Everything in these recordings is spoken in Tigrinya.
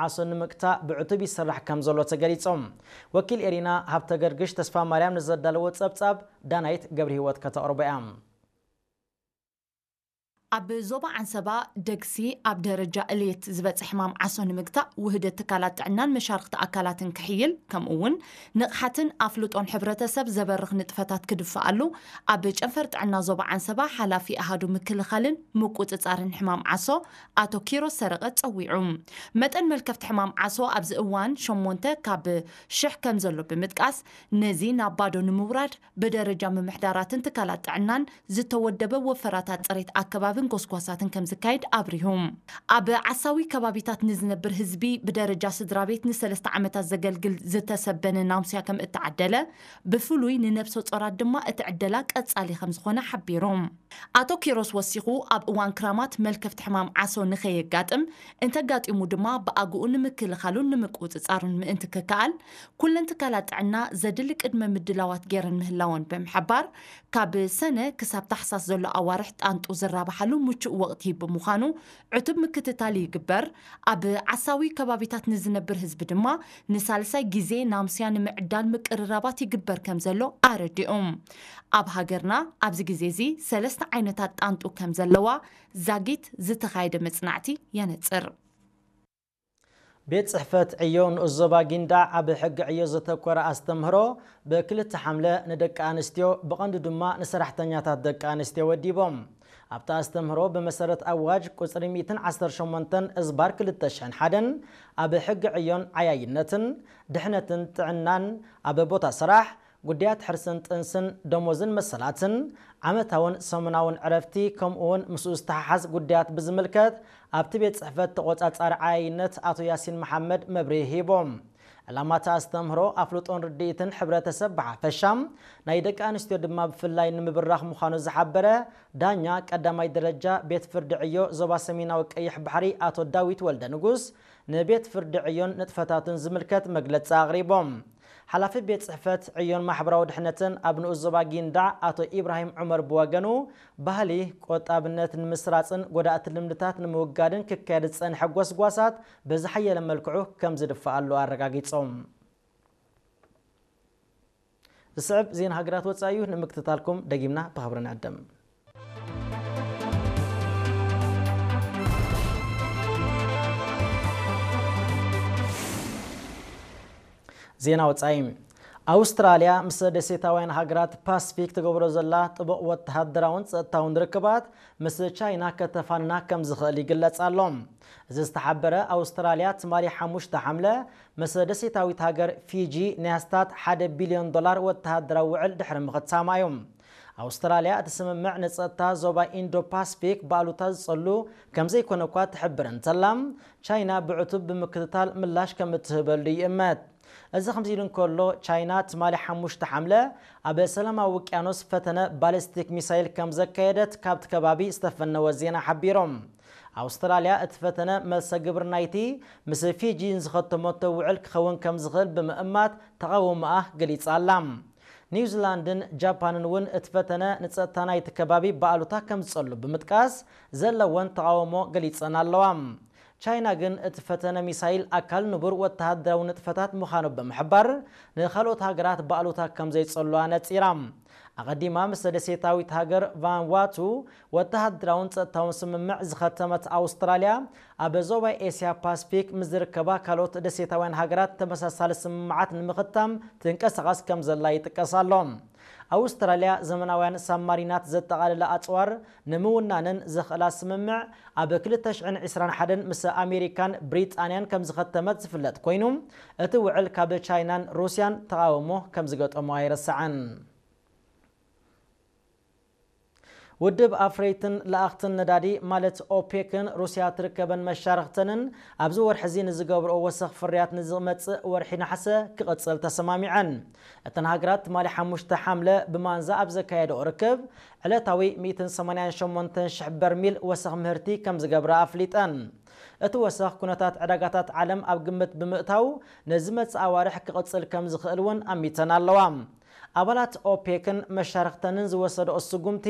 ዓሶ ንምግታእ ብዕቱብ ይስራሕ ከም ዘሎ ተገሊጹ። ወኪል ኤሪና ሃብተ ገርግሽ ተስፋ ማርያም ንዘዳለዎ ጸብጻብ ዳናይት ገብረ ህይወት ከተቕርቦ እያ። ኣብ ዞባ ዓንሰባ ደግሲ ኣብ ደረጃ እልየት ዝበጽሕ ሕማም ዓሶ ንምግታእ ውህደት ትካላት ጥዕናን መሻርኽቲ ኣካላትን ክሕይል፣ ከምኡ እውን ንቕሓትን ኣፍልጦን ሕብረተሰብ ዘበርኽ ንጥፈታት ክድፈኣሉ ኣብ ጨንፈር ጥዕና ዞባ ዓንሰባ ሓላፊ ኣሃዱ ምክልኻልን ምቁጽጻርን ሕማም ዓሶ ኣቶ ኪሮስ ሰረቐ ጸዊዑ። መጠን መልከፍቲ ሕማም ዓሶ ኣብዚ እዋን ሸሞንተ ካብ ሽሕ ከም ዘሎ ብምጥቃስ፣ ነዚ ናብ ባዶ ንምውራድ ብደረጃ ምምሕዳራትን ትካላት ጥዕናን ዝተወደበ ወፈራታት ጽሬት ኣከባብን ጎስጓሳትን ከም ዝካየድ ኣብሪሁ። ኣብ ዓሳዊ ከባቢታት ንዝነብር ህዝቢ ብደረጃ ስድራ ቤት ንሰለስተ ዓመታት ዘገልግል ዝተሰበነ ናምስያ ከም እተዓደለ፣ ብፍሉይ ንነብሰ ጾራት ድማ እቲ ዕደላ ቀጻሊ ከም ዝኾነ ሓቢሩ። ኣቶ ኪሮስ ወሲኹ፣ ኣብ እዋን ክራማት መልከፍቲ ሕማም ዓሶ ንኸየጋጥም፣ እንተጋጢሙ ድማ ብኣግኡ ንምክልኻሉን ንምቁጽጻሩን ምእንቲ ክከኣል፣ ኩለን ትካላት ጥዕና ዘድሊ ቅድመ ምድላዋት ገይረን ምህላወን ብምሕባር፣ ካብ ሰነ ክሳብ ታሕሳስ ዘሎ ኣዋርሕ ጣንጡ ዝራብሓሉ ምቹእ ወቕቲ ብምዃኑ ዕቱብ ምክትታል ይግበር። ኣብ ዓሳዊ ከባቢታት ንዝነብር ህዝቢ ድማ ንሳልሳይ ግዜ ናምስያ ንምዕዳል ምቅርራባት ይግበር ከም ዘሎ ኣረዲኦም። ኣብ ሃገርና ኣብዚ ግዜ እዚ ሰለስተ ዓይነታት ጣንጡ ከም ዘለዋ ዛጊት ዝተኻየደ መጽናዕቲ የነጽር። ቤት ጽሕፈት ዕዮ ንኡስ ዞባ ጊንዳዕ ኣብ ሕጊ ዕዮ ዘተኮረ ኣስተምህሮ ብክልተ ሓምለ ንደቂ ኣንስትዮ፣ ብቐንዱ ድማ ንሰራሕተኛታት ደቂ ኣንስትዮ ወዲቦም። ኣብቲ ኣስተምህሮ ብመሰረት ኣዋጅ ቁጽሪ ሚእትን ዓሰርተ ሸሞንተን እዝባር ክልተ ሽሕን ሓደን ኣብ ሕጊ ዕዮን ዓያይነትን ድሕነትን ጥዕናን ኣብ ቦታ ስራሕ ጉዳያት ሕርስን ጥንስን፣ ደሞዝን መሰላትን፣ ዓመታውን ሰሙናውን ዕረፍቲ፣ ከምኡውን ምስኡ ዝተሓሓዝ ጉዳያት ብዝምልከት ኣብቲ ቤት ጽሕፈት ተቖጻጻሪ ዓያይነት ኣቶ ያሲን መሓመድ መብርሂ ሂቦም። ዕላማ እቲ ኣስተምህሮ ኣፍልጦን ርድኢትን ሕብረተሰብ ብሓፈሻ፣ ናይ ደቂ ኣንስትዮ ድማ ብፍላይ ንምብራኽ ምዃኑ ዝሓበረ ዳኛ ቀዳማይ ደረጃ ቤት ፍርዲ ዕዮ ዞባ ሰሜናዊ ቀይሕ ባሕሪ ኣቶ ዳዊት ወልደ ንጉስ ንቤት ፍርዲ ዕዮን ንጥፈታቱን ዝምልከት መግለጺ ኣቕሪቦም። ሓላፊ ቤት ጽሕፈት ዕዮን ማሕበራዊ ድሕነትን ኣብ ንኡስ ዞባ ጊንዳዕ ኣቶ ኢብራሂም ዑመር ብወገኑ፣ ባህሊ ቆጣብነት ንምስራጽን ጎዳእቲ ልምድታት ንምውጋድን ክካየድ ዝጸንሐ ጎስጓሳት ብዝሓየለ መልክዑ ከም ዝድፈኣሉ ኣረጋጊጾም። ዝስዕብ ዜና ሃገራት ወጻኢ እዩ። ንምክትታልኩም ደጊምና ብኽብሪ ንዕድም። ዜና ወጻኢ። ኣውስትራልያ ምስ ደሴታውያን ሃገራት ፓስፊክ ትገብሮ ዘላ ጥቡቕ ወተሃደራውን ጸጥታውን ርክባት ምስ ቻይና ከተፋንና ከም ዝኽእል ይግለጽ ኣሎ። እዚ ዝተሓበረ ኣውስትራልያ ትማሊ ሓሙሽተ ሓምለ ምስ ደሴታዊት ሃገር ፊጂ ናይ ኣስታት ሓደ ቢልዮን ዶላር ወተሃደራዊ ውዕል ድሕሪ ምኽታማ እዩ። ኣውስትራልያ እቲ ስምምዕ ንጸጥታ ዞባ ኢንዶ ፓስፊክ ብኣሉታ ዝጸሉ ከም ዘይኮነ እኳ ትሕብር እንተላ፣ ቻይና ብዕቱብ ብምክትታል ምላሽ ከም እትህበሉ ይእመት። እዚ ከምዚ ኢሉ እንከሎ፣ ቻይና ትማሊ ሓሙሽተ ሓምለ ኣብ ሰላማዊ ውቅያኖስ ፈተነ ባሊስቲክ ሚሳይል ከም ዘካየደት ካብቲ ከባቢ ዝተፈነወ ዜና ሓቢሮም። ኣውስትራልያ እቲ ፈተነ መልሰ ግብሪ ናይቲ ምስ ፊጂ ንዝኸተመቶ ውዕል ክኸውን ከም ዝኽእል ብምእማት ተቓውሞኣ ገሊጻ ኣላ። ኒውዚላንድን ጃፓንን እውን እቲ ፈተነ ንጸጥታ ናይቲ ከባቢ ብኣሉታ ከም ዝጸሉ ብምጥቃስ ዘለወን ተቓውሞ ገሊጸን ኣለዋ። ቻይና ግን እቲ ፈተነ ሚሳይል ኣካል ንቡር ወተሃደራዊ ንጥፈታት ምዃኑ ብምሕባር፣ ንኻልኦት ሃገራት ብኣሉታ ከም ዘይጸልዋ ነጺራ። ኣቐዲማ ምስ ደሴታዊት ሃገር ቫንዋቱ ወተሃደራውን ጸጥታውን ስምምዕ ዝኸተመት ኣውስትራልያ፣ ኣብ ዞባ ኤስያ ፓስፊክ ምስ ዝርከባ ካልኦት ደሴታውያን ሃገራት ተመሳሳሊ ስምምዓት ንምኽታም ትንቀሳቐስ ከም ዘላ ይጥቀስ ኣሎ። ኣውስትራልያ ዘመናውያን ሳብማሪናት ዘጠቓለለ ኣጽዋር ንምውናንን ዘኽእላ ስምምዕ ኣብ ክልተ ሽሕን ዕስራን ሓደን ምስ ኣሜሪካን ብሪጣንያን ከም ዝኸተመት ዝፍለጥ ኮይኑ፣ እቲ ውዕል ካብ ቻይናን ሩስያን ተቓውሞ ከም ዝገጠሞ ኣይረስዐን። ውድብ ኣፍረይትን ለኣኽትን ነዳዲ ማለት ኦፔክን ሩስያ ትርከበን መሻርኽተንን ኣብዚ ወርሒ እዚ ንዝገብርኦ ወሰኽ ፍርያት ንዝመጽእ ወርሒ ነሓሰ ክቕጽል ተሰማሚዐን። እተን ሃገራት ትማሊ ሓሙሽተ ሓምለ ብማንዛ ኣብ ዘካየደኦ ርክብ፣ ዕለታዊ ሚእትን ሰማንያን ሸሞንተን ሽሕ በርሚል ወሰኽ ምህርቲ ከም ዝገብራ ኣፍሊጠን። እቲ ወሰኽ ኩነታት ዕዳጋታት ዓለም ኣብ ግምት ብምእታው፣ ንዝመጽእ ኣዋርሕ ክቕጽል ከም ዝኽእል እውን ኣሚተን ኣለዋ። ኣባላት ኦፔክን መሻርኽተንን ዝወሰድኦ ስጉምቲ፣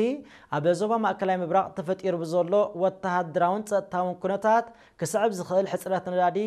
ኣብ ዞባ ማእከላይ ምብራቕ ተፈጢሩ ብዘሎ ወተሃደራውን ጸጥታውን ኩነታት ክስዕብ ዝኽእል ሕጽረት ነዳዲ